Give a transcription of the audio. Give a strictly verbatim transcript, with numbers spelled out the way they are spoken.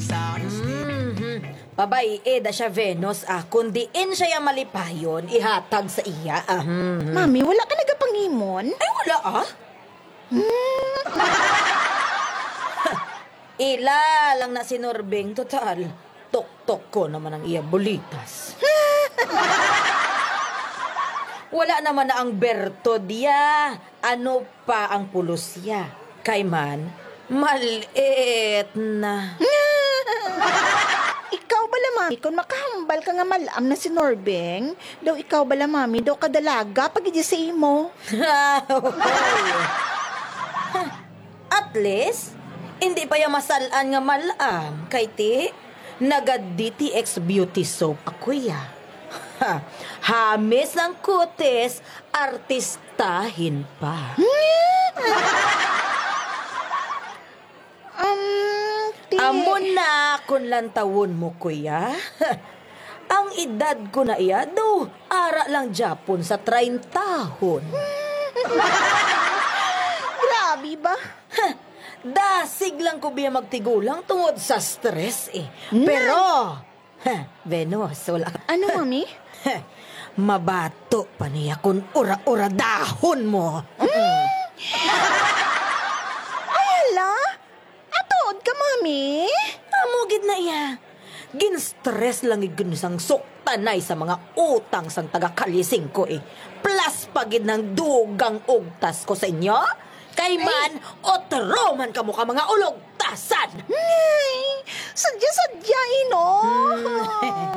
Mhm. Pabay-i da siya, Venus, ah. Kung diin siya ya malipayon, ihatag sa iya, ah. Mhm. Mami, wala ka nagapangimon? Ay, wala, ah. Hmm. Ila lang na si Norbing, total. Tuktok ko naman ang iya bulitas. Wala naman na ang berto diya. Ano pa ang pulos ya? Kay man, malit na. Ikaw bala, mami, kung makahambal ka nga mal-am na si Norbing, daw ikaw bala, mami, daw kadalaga pa gid sa imo. At least, hindi pa ya masal-an nga mal-am, kay ti, naga-D T X beauty soap ako ya. Ha, hamis ang kutis, artistahin pa. Um, ti- Amo na kung lantawon mo, kuya. Ang edad ko na iya, do, ara lang gyapon sa trayntahon. Grabe ba? Dasig lang ko biya magtigulang tungod sa stress, eh. Pero, ha, Venus, wala. Ano, mami? Mabato pa niya kung ura-uradahon mo. Ay, hala? Atuod ka, mami? Amo gid na iya. Gin-stress lang gid sang suktanay sa mga utang sang taga Kalye Singko, eh. Plus pa gid nang dugang ugtas ko sa inyo. Kay man, otro man kamo ka mga ulogtasan. Ay, sadya-sadya, eh, no? Hmm.